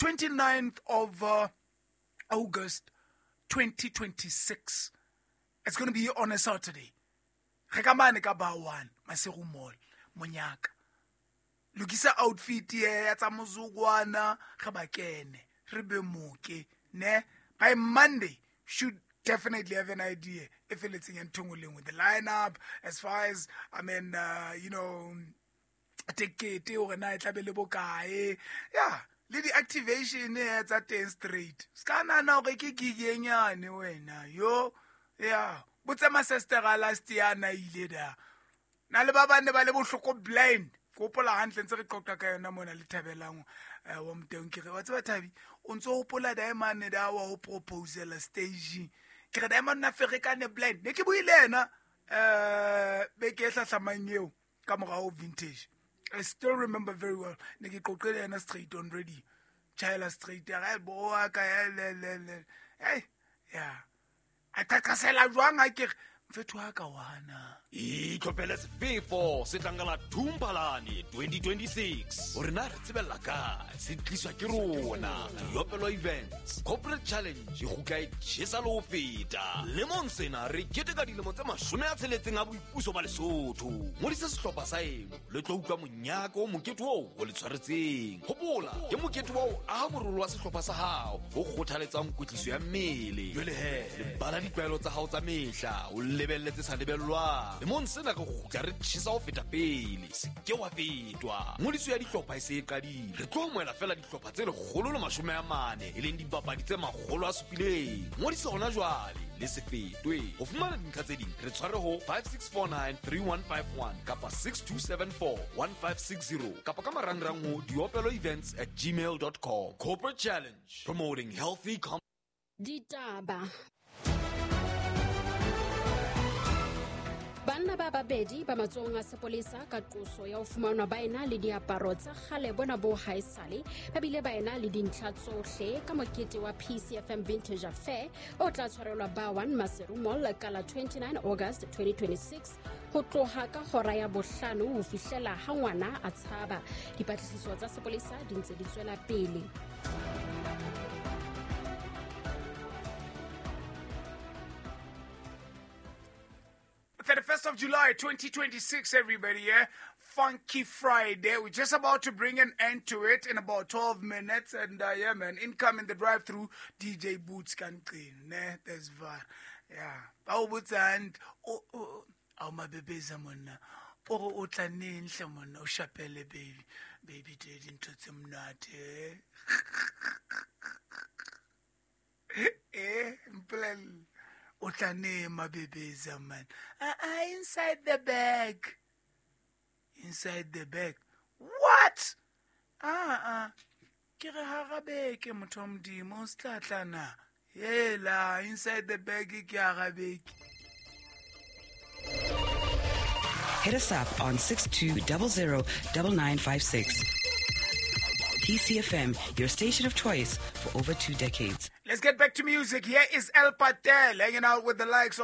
29th of August 2026. It's going to be on a Saturday. Re ka mane ka ba 1 Maseru Mall, monyaka. Lokisa outfit ya tsa mozukwana re ba kene, re be moke, ne? By Monday should definitely have an idea if it's in with the lineup as far as I mean you know tekete hore na e tla be le bokae, yeah, le di-activation e tsa teng straight. Se ka nahana hore ke gig e nyane wena yo, yeah, botse masestera last year na ile da na le ba bane ba le bohloko blind. Ke hopola hantle ntse re qoqa ka yona mona le Thabelang wa Moteng, ke re wa tseba Thabi o ntso hopola Diamond da wa ho proposela stage, ke re Diamond na ferekane blind, ne ke buile yena beke e hlahlamang eo ka morao vintage. I still remember very well. Ne ke qoqele yena straight on ready. Chaela straight ya ga bo wa ka le le le. Hey, yeah. A qaqasela jwang ha ke re mfetho wa ka wana. Itlhophele sefefo se tlang ka la Thumphalane 2026. Hore na re tsebella kae, se tliswa ke rona. Diopelo Events Corporate Challenge e kgutla e tjhesa le ho feta. Lemong sena re keteka dilemo tse 60 a boipuso ba Lesotho. Ngodisa sehlopha sa eno le tlo utlwa monyaka o mokete oo o le tshwaretseng. Hopola, ke mokete wa ho aha morolo wa sehlopha sa hao o kgothaletsang kwetliso ya mmele. Jwale he, lebala ditlwaelo tsa hao tsa mehla, o lebelle tse sa lebellwang. Lemong sena re kgutla re tjhesa ho feta pele. Se ke wa fetwa. Ngodiso ya dihlopha e se e qadile. Re tlo amohela fela dihlopha tse 140, e leng dibapadi tse 700. Ngodisa hona jwale le se fetwe. Ho fumana dintlha tse ding re tshware ho 56493151 kapa 62741560 kapa ka marangrang ho diopeloevents@gmail.com. Corporate Challenge, promoting healthy Ditaba. Banna ba babedi ba matsohong a sepolesa ka qoso ya ho fumanwa ba ena le diaparo tsa kgale bona bo haesale, ba bile ba ena le dintlha tsohle ka mokete wa PCFM Vintage Affair o tla tshwarelwa ba 1 Maseru Mall ka la 29 August 2026 ho tloha ka hora ya 5 ho fihlela ha ngwana a tshaba. Dipatlisiso tsa sepolesa di ntse di tswela pele. 31st of July 2026, everybody, yeah? Funky Friday. We're just about to bring an end to it in about 12 minutes. And yeah, man, incoming the drive-through, DJ Boots can clean. Ne? There's VAR. Yeah. Bao Boots and oh, oh, oh, my baby, monna. Oh, o tla neng hle monna, o shapele baby. Baby daddy ntho tse monate. Eh, mpolelle. O tla neng mabebeza man. Inside the bag. Inside the bag. What? Ke re hara beke motho wa Modimo o se tla tla na. Hela, inside the bag ke hara beke. Hit us up on 62009956. PCFM, your station of choice for over 2 decades. Let's get back to music. Here is El Patel hanging out with the likes of